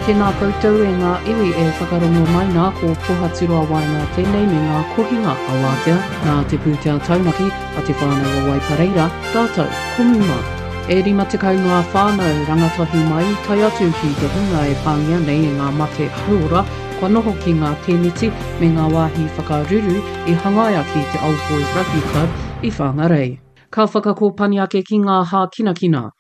Tēnā koutou e ngā iwi e whakarongo mai nā ko Pohaturoa Waenga tēnei me ngā kohinga a Wātea nā te pūtea taunaki a Te Whānau o Waipareira rātou ko Muma. E 50 ngā whānau rangatahi mai tae atu ki te hunga e pāngia nei e ngā mate hauora kua noho ki ngā tēneti me ngā wāhi whakaruru i hangaia ki te Old Boys Rugby Club i Whangarei. Ka whakakōpani ake ki ngā hākinakina.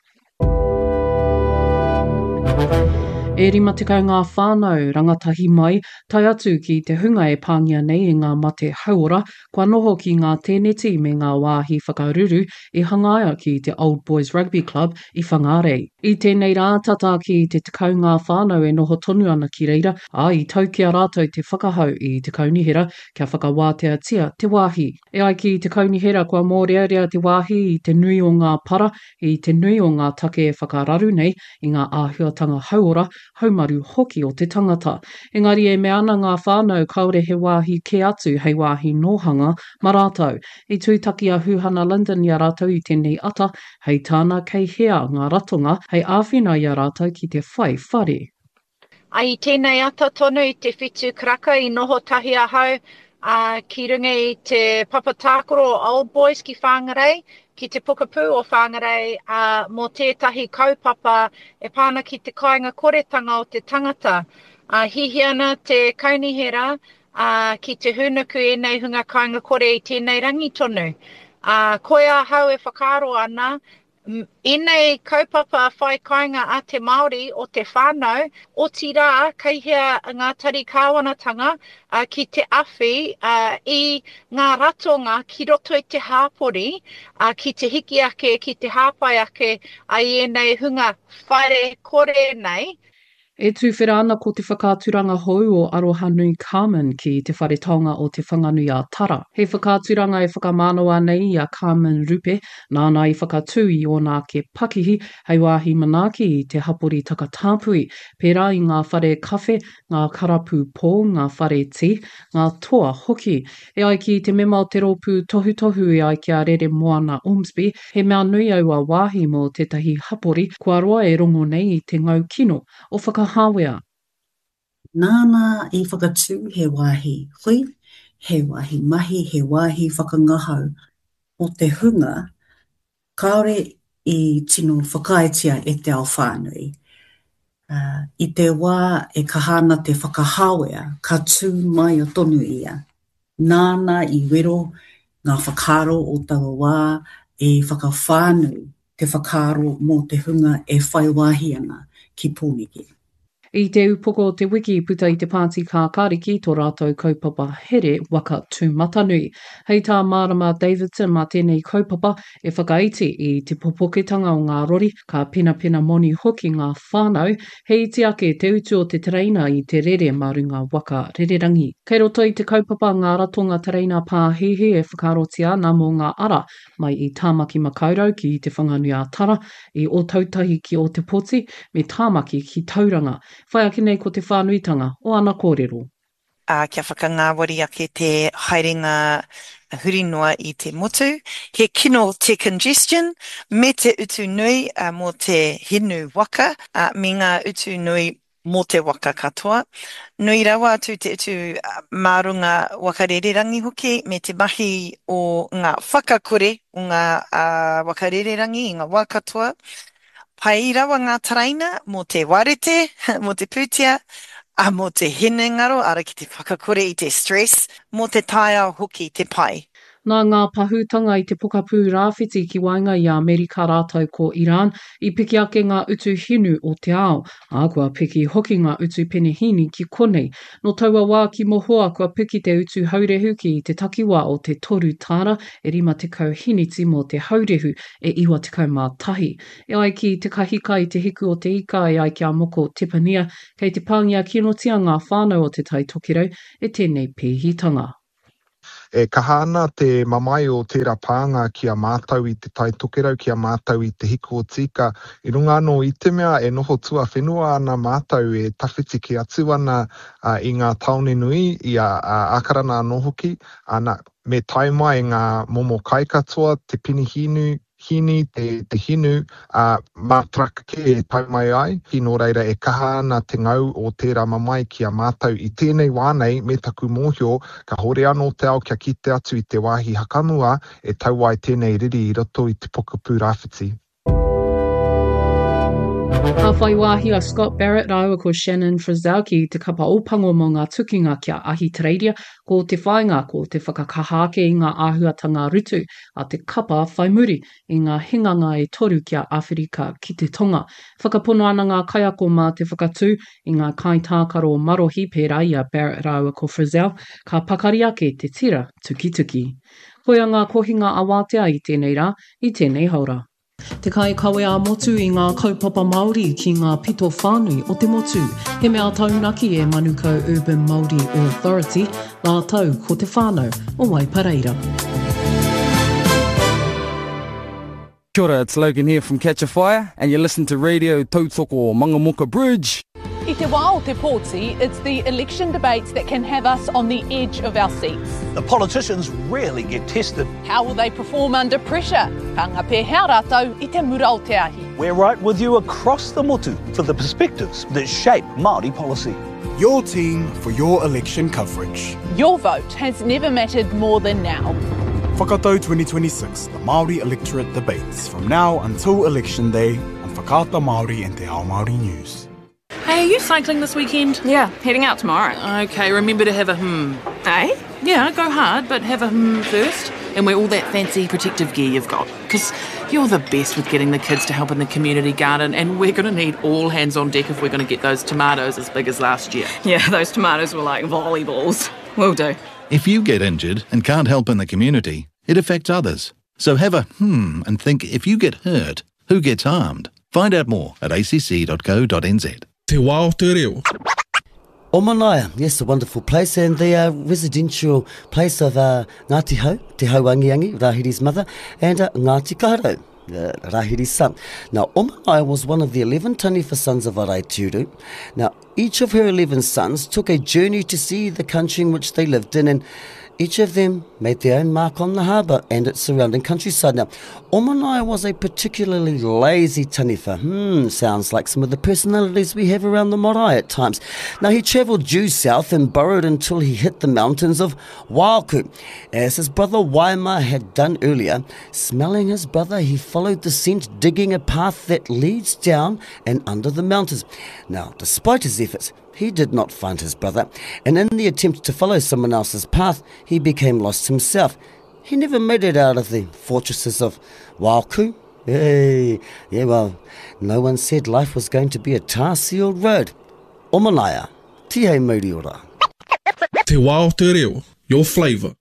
E 50 ngā whānau, rangatahi mai, tae atu ki te hunga e pāngia nei e ngā mate hauora, kua noho ki ngā tēneti me ngā wāhi whakaruru i hangaia ki te Old Boys Rugby Club i Whangārei. I tēnei rā, tata ki te 10 ngā whānau e noho tonu ana ki reira, ā, i tau ki a rātou te whakahau i te kaunihera kia whakawāteatia te wāhi. E ai ki te kaunihera kua mōrearea te wāhi i te nui o ngā para, i te nui o ngā take e whakararu nei i ngā āhuatanga hauora, haumaru hoki o te tangata. Engari e mea ana ngā whānau kāore he wāhi kē atu hei wāhi nōhanga ma rātou. I tūtaki a Huhana Lyndon i a rātou i tēnei ata, hei tāna kei hea ngā ratonga hei āwhina i a rātou ki te whai whare. I tēnei ata tonu i te whitu karaka i noho tahi ahau ki runga i te papa tākaro o Old Boys ki Whangarei, ki te pokapū o Whangarei mō tētahi kaupapa e pā ana ki te kāinga koretanga o te tangata. Hihia ana te kaunihera ki te hūnuku ēnei hunga kāinga kore i tēnei rangi tonu. Koia ahau e whakaaro ana Ēnei kaupapa whai kāinga a te Māori o te whānau, otirā kei hea ngā tari kāwanatanga ki te awhi i ngā ratonga ki roto i te hāpori ki te hiki ake, ki te hāpai ake i ēnei hunga whare kore nei. E tuwhera ana ko te whakaaturanga hou o Arohanui Carmen ki Te Whare Taonga o Te Whanganui-a-Tara. He whakaaturanga e whakamānawa nei i a Carmen Rupe, nāna i whakatū i ōna ake pakihi hei wāhi manaaki i te hapori takatāpui, pērā i ngā whare kawhe, ngā karapu pō, ngā whare tī, ngā toa hoki. E ai ki te mema o te rōpū tohutohu e ai ki a Reremoana Ormsby, he mea nui aua wāhi mō tētahi hapori kua roa e rongo nei i te ngau kino o Whakahāwea. Nāna i whakatū he wāhi hui, he wāhi mahi, he wāhi whakangahau mō te hunga kāore i tino whakaaetia e te ao whānui. I te wā e kaha ana te whakahāwea, ka tū māia tonu ia. Nāna i wero ngā whakaaro o taua wā i whakawhānui te whakaaro mō te hunga e whai wāhi ana ki Pōneke. I te upoko o te wiki i puta i te Pāti Kākāriki tō rātou kaupapa here waka tūmatanui. Hei tā Mārama Davidson mā tēnei kaupapa e whakaiti i te popoketanga o ngā rori, ka penapena moni hoki ngā whānau, he iti ake te utu o te tereina i te rere mā runga waka rererangi. Kei roto i te kaupapa ngā ratonga tereina pāhihi e whakaarotia ana mō ngā ara mai i Tāmaki Makaurau ki Te Whanganui-ā-Tara, i Ōtautahi ki Ōtepoti, me Tāmaki ki Tauranga. Whai ake nei ko te whānuitanga o ana kōrero. Ā, kia whakangāwari ake te haerenga huri noa i te motu. He kino te congestion me te utu nui mō te hinu waka, ā, me ngā utu nui mō te waka katoa. Nui rawa atu te utu mā runga waka rererangi hoki me te mahi o ngā whakakore o ngā waka rererangi i ngā wā katoa. Pai rawa ngā tereina mō te warete, mō te pūtea, ā, mō te hinengaro, ara ki te whakakore i te stress, mō te taiao hoki te pai. Nā ngā pahūtanga i te pokapū rāwhiti ki waenga i a Amerika rātou ko Iran, i piki ake ngā utu hinu o te ao, ā, kua piki hoki ngā utu penehīni ki konei. Nō taua wā ki mohoa kua piki te utu haurehu ki te takiwā o te toru tāra e 50 hiniti mō te haurehu e 91. E ai ki te kahika i te hiku o te ika e ai ki a Moko Tepania, kei te pāngia kinotia ngā whānau o Te Tai Tokerau e tēnei pēhitanga. E kaha ana te mamae o tērā pānga ki a mātou i Te Tai Tokerau, ki a mātou i Te Hiku o Tīka, i runga anō i te mea e noho tuawhenua ana mātou e tawhiti kē atu ana i ngā tāone nui, i a Ākarana anō hoki, ana, me tae mai ngā momo kai katoa, te penihīnu. Hini, te, te hinu, ā, mā truck kē e tau mai ai, nō reira e kaha ana te ngau o tērā mamae ki a mātou i tēnei wā nei me taku mōhio kāhore anō te ao kia kite atu i te wāhi hakamua e tau ai tēnei riri i roto i te pokapū rāwhiti. Ka whai wāhi a Scott Barrett rāua ko Shannon Frizell ki te kapa Ōpango mō ngā tukinga ki a Ahitereiria, ko te whāinga ko te whakakaha ake i ngā āhuatanga rutu a te kapa whai muri i ngā hinganga e toru ki a Awherika ki te Tonga. Whakapono ana ngā kaiako mā te whakatū i ngā kaitākaro marohi pērā i a Barrett rāua ko Frizell, ka pakari ake te tira tukituki. Koia ngā kohinga awātea i tēnei rā, i tēnei haora. Te kaikawe ā-motu i ngā kaupapa Māori ki ngā pito whānui o te motu. He mea taunaki e Manukau Urban Māori Authority rātou ko te whānau o Waipareira. Kia ora, it's Logan here from Catch a Fire and you listen to Radio Tautoko Mangamuka Bridge. I te wā o te pōti, it's the election debates that can have us on the edge of our seats. The politicians rarely get tested. How will they perform under pressure? Ka ngā pēhea rātou i te mura o te ahi? We're right with you across the motu for the perspectives that shape Māori policy. Your team for your election coverage. Your vote has never mattered more than now. Whakatau 2026, the Māori electorate debates from now until election day on Whakaata Māori and Te Ao Māori News. Hey, are you cycling this weekend? Yeah, heading out tomorrow. Okay, remember to have a hmm. Eh? Yeah, go hard, but have a hmm first. And wear all that fancy protective gear you've got. Because you're the best with getting the kids to help in the community garden, and we're going to need all hands on deck if we're going to get those tomatoes as big as last year. Yeah, those tomatoes were like volleyballs. Will do. If you get injured and can't help in the community, it affects others. So have a hmm and think if you get hurt, who gets harmed? Find out more at acc.co.nz. Te wā o te reo. Omanaia, yes, a wonderful place, and the uh, residential place of uh, Ngāti Hau, Te Hauangiangi, Rahiri's mother, and uh, Ngāti Kaharau, uh, Rahiri's son. Now, Omanaia was one of the 11 taniwha sons of Araitiuru. Now, each of her 11 sons took a journey to see the country in which they lived in, and each of them made their own mark on the harbour and its surrounding countryside. Now, Omanai was a particularly lazy taniwha. Hmm, sounds like some of the personalities we have around the marae at times. Now, he travelled due south and burrowed until he hit the mountains of Waoku. As his brother Waima had done earlier, smelling his brother, he followed the scent, digging a path that leads down and under the mountains. Now, despite his efforts, he did not find his brother, and in the attempt to follow someone else's path, he became lost himself. He never made it out of the fortresses of Waoku. Hey, yeah, well, no one said life was going to be a tar-sealed road. Omanaya, tihei mauri ora. Te wā o te reo, your flavour.